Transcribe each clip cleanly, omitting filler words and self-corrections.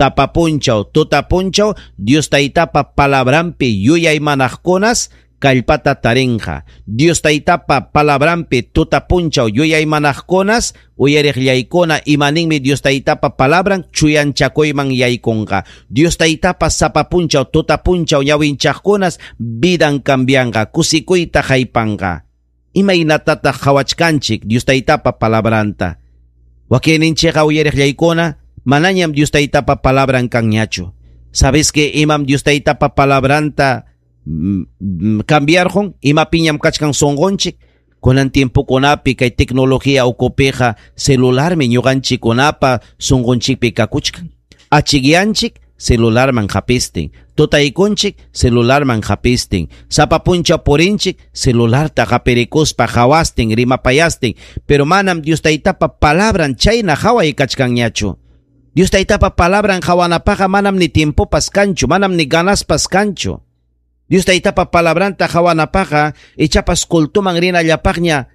Sapa punchaw, tuta punchaw, Dios Taytapa palabranpi yuyaymanaqkunas kallpata tarinqa. Dios Taytapa palabranpi tuta punchaw yuyaymanaqkunas uyariqllaykuna imaninmi Dios Taytapa palabran chuyanchakuyman yaykunqa. Dios Taytapa sapa punchaw, tuta punchaw ñawinchaqkunas vidan cambianqa, kusikuyta haypanqa. Imaynatataq qhawachkanchik Dios Taytapa palabranta? Wakinninchikqa uyariqllaykuna manañam Dios Taytapa palabran kanñachu. ¿Sabes que imam Dios Taytapa palabranta cambiarqun? Imapiñam kachkan sunqunchik? Kunan tiempokunapi kay tecnología ukupiqa celularmi ñuqanchikkunapa sunqunchikpi kakuchkan. Achikyanchik celularman hapistin, tutaykunchik celularman hapistin, sapa punchaw purinchik celularta hapirikuspa hawastin rimapayastin, pero manam Dios Taytapa palabran chayna haway kachkanñachu. Dios Taytapa palabran hawanapaqqa manam ni tiempopas kanchu, manam ni ganaspas kanchu. Dios Taytapa palabranta hawanapaqqa ichapas cultuman rinallapaqña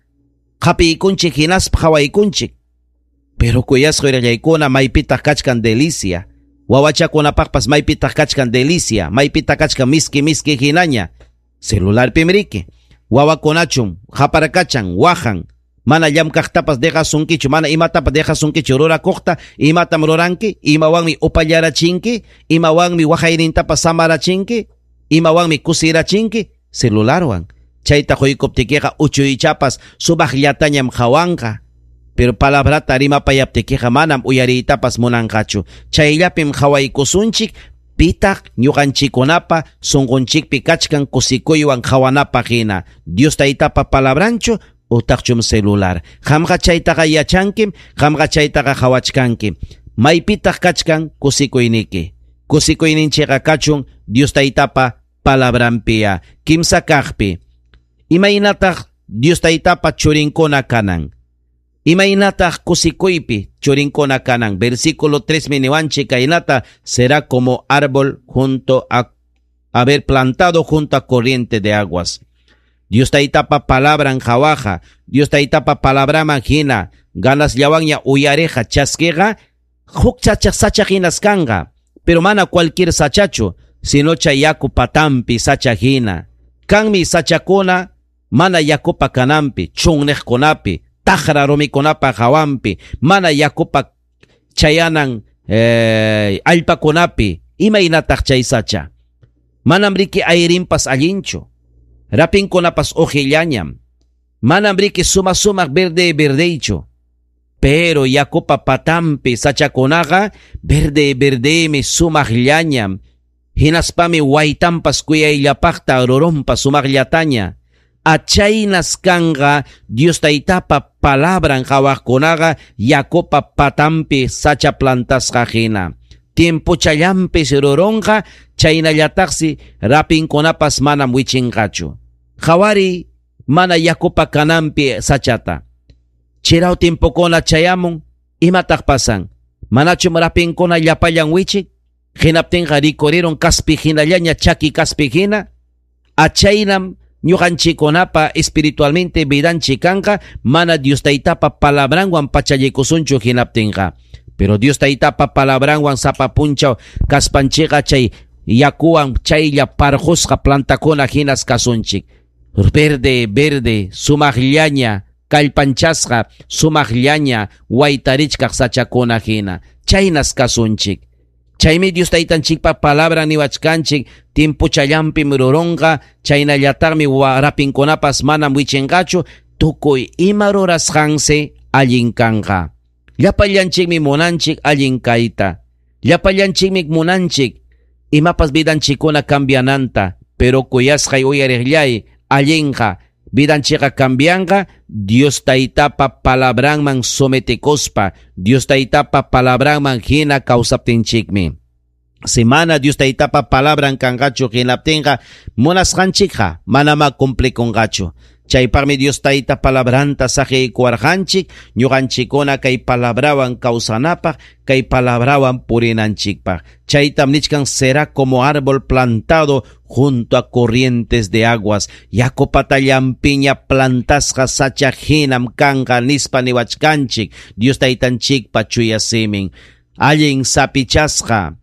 hapiykunchik hinaspa hawaykunchik. Pero kuyasqa uyarillaykuna maypitaq kachkan delicia. Wawachakunapaqpas maypitaq kachkan delicia, maypitaq kachkan miski miski hinaña. Celularpim riki. Wawakunachum haparkachan, wahan. Mana llamkaqtapas dejasunkichu, mana imatapas dejasunkichu rurakuqta, imatam ruranki, imawanmi upallarachinki, imawanmi waqaynintapas samarachinki, imawanmi kusirachinki, celularwan. Chayta quykuptikiqa uchuychapas sumaqllatañam hawanqa. Pero palabrata rimapayaptikiqa manam uyariytapas munanqachu. Chayllapim hawaykusunchik, pitaq ñuqanchikkunapa sunqunchikpi kachkan kusikuywan hawanapaq hina. Dios Taytapa palabranchu utaqchum celular. Qamqa chaytaqa yachankim, qamqa chaytaqa hawachkankim. Maypitaq kachkan kusikuyniki. Kusikuyninchikqa kachun Dios Taytapa palabranpiya. Kimsa kaqpi. Imaynataq Dios Taytapa churinkuna kanan? Imaynataq kusikuypi churinkuna kanan? Versículo 3 niwanchik kaynata será como árbol junto a haber plantado junto a corriente de aguas. Dios Taytapa palabran hawaqa, Dios Taytapa palabraman hina, ganasllawanña uyariqa chaskiqa, huk sacha hinas kanqa, pero mana cualquier sachachu, sino chay yaku patampi sacha hina. Kanmi sachakuna mana yakupa kanampi, chunniqkunapi, taqra rumikunapa hawanpi, mana yakupa chayanan allpakunapi, imaynataq chay sacha. Manam riki ayrinpas allinchu, rapinkunapas uqillañam, manam riki suma sumaq verde verdeychu, pero yakupa patampi sachakunaqa verde verdemi sumaqllañam, hinaspami waytanpas kuyayllapaqta rurunpas sumaqllataña. Achaynas kanqa Dios Taytapa palabran hawaqkunaqa yakupa patampi sacha plantasqa hina. Tiempochallampis rurunqa chaynallataqsi rapinkunapas manam wichinqachu. Hawari mana yakupa kanampi sachata. Chiraw tiempokuna chayamun, imataq pasan? Manachum rapinkuna llapallan wichik? Hinaptinqa rikurirun kaspi hinallaña chaki kaspi hina. Achaynam ñuqanchikkunapa espiritualmente vidanchik kanqa mana Dios Taytapa palabranwan pachallikusunchu hinaptinqa. Pero Dios Taytapa palabranwan sapa punchaw kaspanchikqa chay yakuwan chaylla parqusqa plantakuna hinas kasunchik. Verde, verde, sumaqllaña, kallpanchasqa, sumaqllaña, waytarichkaq sachakuna hina. Chaynas kasunchik. Chaymi Dios Taytanchikpa palabra niwachkanchik, tiempochallampim rurunqa, chaynallataqmi rapinkunapas manam wichinqachu, tukuy ima rurasqansi allin kanqa. Llapallanchikmi munanchik allin kayta. Llapallanchikmi munanchik imapas vidanchikkuna cambiananta, pero kuyasqay uyariqllay allinqa vidanchikqa cambianqa Dios Taytapa palabranman sometikuspa, Dios Taytapa palabranman hina kawsaptinchikmi. Si mana Dios Taytapa palabran kanqachu hinaptinqa munasqanchikqa manama cumplikunqachu. Chaypaqmi Dios Tayta palabranta saqiykuwarqanchik, ñuqanchikkuna kay palabrawan kawsanapaq, kay palabrawan purinanchikpaq. Chaytam nichkan será como árbol plantado junto a corrientes de aguas. Yaku patallampiña plantasqa sacha hinam kanqa nispa niwachkanchik. Dios Taytanchikpa chuya simin. Allin sapichasqa.